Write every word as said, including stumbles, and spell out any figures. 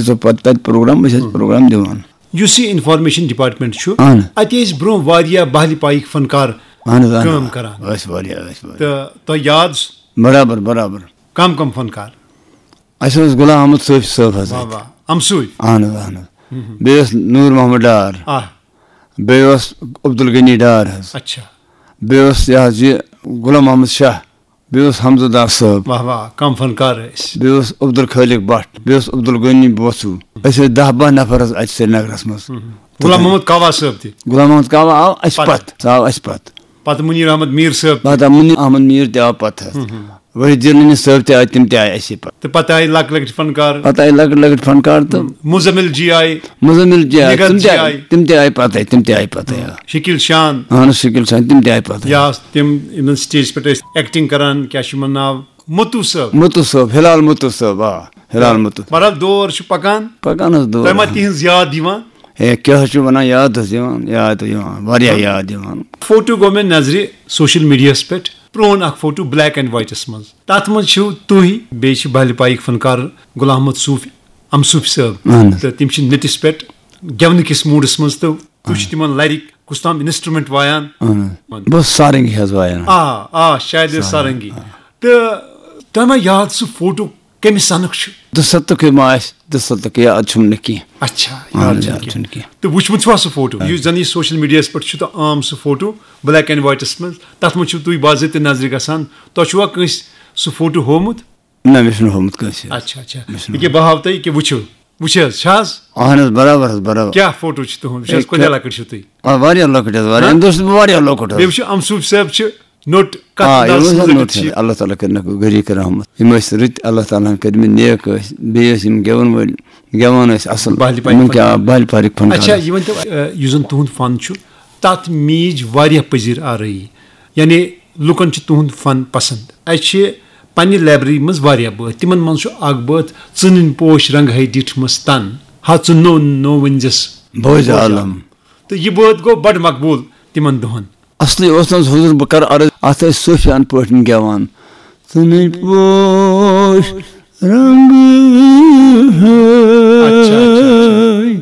سُہ پَتہٕ تَتہِ پروگرام، أسۍ ٲسۍ پروگرام دِوان۔ یُس یہِ انفارمیشن ڈپارٹمنٹ چھُ، اہن۔ اَتہِ ٲسۍ برونٛہہ واریاہ بہلہِ پایِکۍ فنکار اہن حظ، اہن حظ۔ کٲم کران۔ ٲسۍ واریاہ، ٲسۍ واریاہ۔ تہٕ تۄہہِ یاد؟ برابر، برابر۔ کم کم فنکار؟ اَسہِ اوس غلام احمد صوفی صٲب حظ واہ اَتہِ۔ واہ، امسوٗفۍ۔ اہن حظ، اہن حظ۔ بیٚیہِ اوس نوٗر محمد ڈار۔ آ۔ بیٚیہِ اوس عبدالغنی ڈار حظ۔ اچھا۔ بیٚیہِ اوس یہِ حظ یہِ غلام محمد شاہ۔ بیٚیہِ اوس حمزہ دار صٲب۔ واہ واہ، کم فنکار ٲسۍ۔ بیٚیہِ اوس عبدالخالق بٹ، بیٚیہِ اوس عبدالغنی بوسو۔ أسۍ ٲسۍ دَہ باہ نفر حظ اَتہِ سرینگرس منٛز۔ غلام محمد کاوا صٲب تہِ۔ غلام محمد کاوا آو اَسہِ پتہٕ۔ پتہٕ، سُہ آو اَسہِ پتہٕ۔ پتہٕ منیر احمد میر صٲب تہِ۔ پتہٕ منیر احمد میر تہِ آو پتہٕ حظ۔ وحید جیلانی صٲب تہِ آے، تِم تہِ آے اَسہِ پتہٕ۔ تہٕ پتہٕ آیہِ لۄکٕٹۍ لۄکٕٹۍ فنکار۔ پتہٕ آیہِ لۄکٕٹۍ لۄکٕٹۍ فنکار تہٕ مزمل جی آیہِ۔ مزمل جی آیہِ، نگہت تِم تہِ جی آیہِ، آیہِ۔ تِم تہِ آیہِ پتہٕ، تِم تہِ آیہِ پتہٕ۔ شکیل شان۔ اہن حظ، شکیل شان، تِم تہِ آیہِ پتہٕ۔ یا تِم یِمن سٹیج پٮ۪ٹھ ٲسۍ ایکٹنگ کران، کیٛاہ چھُ یِمن ناو؟ متو صٲب۔ متو صٲب، ہلال متو صٲب، آ، ہلال متو۔ بہرحال دور چھُ پکان۔ پکان حظ دور۔ تۄہہِ ما تِہنٛز یاد یِوان؟ ہے، کیٛاہ حظ چھُ ونان، یاد حظ یِوان، یاد یِوان، واریاہ یاد یِوان۔ فوٹو گوٚو مےٚ نظرِ سوشل میڈیاہس پٮ۪ٹھ، پرون اکھ فوٹو بلیک اینڈ وائٹس منٛز۔ تتھ منٛز چھِو تُہۍ، بیٚیہِ چھِ بہلہِ پایِکۍ فنکار غلام محمد صوفی، امصوفی صٲب۔ اہن حظ۔ تہٕ تِم چھِ نٔٹِس پٮ۪ٹھ گٮ۪ونہٕ کِس موڈس منٛز، تہٕ تُہۍ چھِ تِمن لرِک کُس تام انسٹرومنٹ وایان۔ اہن حظ۔ بہٕ اوسُس سارنگی حظ وایان۔ آ، آ، شاید ٲس سارنگی۔ سارنگی۔ تہٕ تۄہہِ ما یاد سُہ فوٹو کمہِ سنُک چھُ؟ دُستُکُے ما آسہِ، دُستُکُے، یاد چھُم نہٕ کینٛہہ۔ اچھا، اہن یاد حظ، چھُنہٕ یاد کینٛہہ۔ چھُنہٕ کینٛہہ۔ تہٕ وٕچھمُت چھُوا سُہ فوٹو؟ یُس زن یہِ سوشل میڈیاہس پٮ۪ٹھ چھُ تہٕ عام سُہ فوٹو بلیک اینڈ وائٹس منٛز، تتھ منٛز چھِو تُہۍ باضٲبطہٕ نظرِ گژھان۔ تۄہہِ چھُوا کٲنٛسہِ سُہ فوٹو ہوومُت؟ نہ، مےٚ چھُنہٕ ہوومُت کٲنٛسہِ۔ اچھا، اچھا۔ مےٚ چھُنہٕ ییٚکیٛاہ بہٕ ہاوٕ تۄہہِ، ییٚکیٛاہ وٕچھِو، وٕچھ حظ، چھِ حظ؟ اہن حظ، برابر حظ، برابر۔ کیٛاہ فوٹو چھِ تُہُنٛد؟ وٕچھ حظ، ہے، کوٗتاہ کیٛاہ؟ لۄکٕٹۍ چھِو تُہۍ؟ آ، واریاہ لۄکٕٹۍ حظ، واریاہ۔ ہاں؟ اَمہِ دۄہ چھُس بہٕ واریاہ لۄکُٹ حظ۔ بیٚیہِ وٕچھِو، امصوفی صٲب چھِ نوٚٹ کَتھ آ، یِم اندازَس ٲسۍ حظ منٛز نوٚٹ لۄکٕٹۍ چھِ۔ حظ۔ اللہ تعالیٰ کٔرِنَکھ غریٖق رحمت۔ یِم ٲسۍ رٕتۍ، اللہ تعالیٰ ہَن کٔرمٕتۍ نیک ٲسۍ۔ بیٚیہِ ٲسۍ یِم گٮ۪وَن وٲلۍ، گٮ۪وان ٲسۍ اَصٕل۔ بہلہِ پارِ یِمَن کیٛاہ، فنکار۔ بہلہِ پارٕکۍ فنکار اچھا، ٲسۍ۔ یہِ ؤنۍ تو، یہِ زَن تُہُنٛد فن چھُ، تَتھ میٖج واریاہ پٔزِر آرٲیی۔ یعنی لُکَن چھُ تُہُنٛد فن پسنٛد۔ اَسہِ چھِ پننہِ لائبریری منٛز واریاہ بٲتھ۔ تِمَن منٛز چھُ اکھ بٲتھ، "ژٕنٕنۍ پوش رنٛگ ہے ڈِٹھ مَس تَن، ہا ژٕ نوٚو نوٚو ؤنۍ زٮ۪س بوزِ بوزِ عالم۔" عالم۔ تہٕ یہِ بٲتھ گوٚو بڑٕ مقبوٗل تِمَن دۄہَن۔ اصلی اوس نہٕ حضور، بہٕ کرٕ عرض، اتھ ٲسۍ صوفیان پٲٹھۍ گٮ۪وان۔ ژٕنٕنۍ پوش رنٛگ اچھا، اچھا، اچھا۔ ہے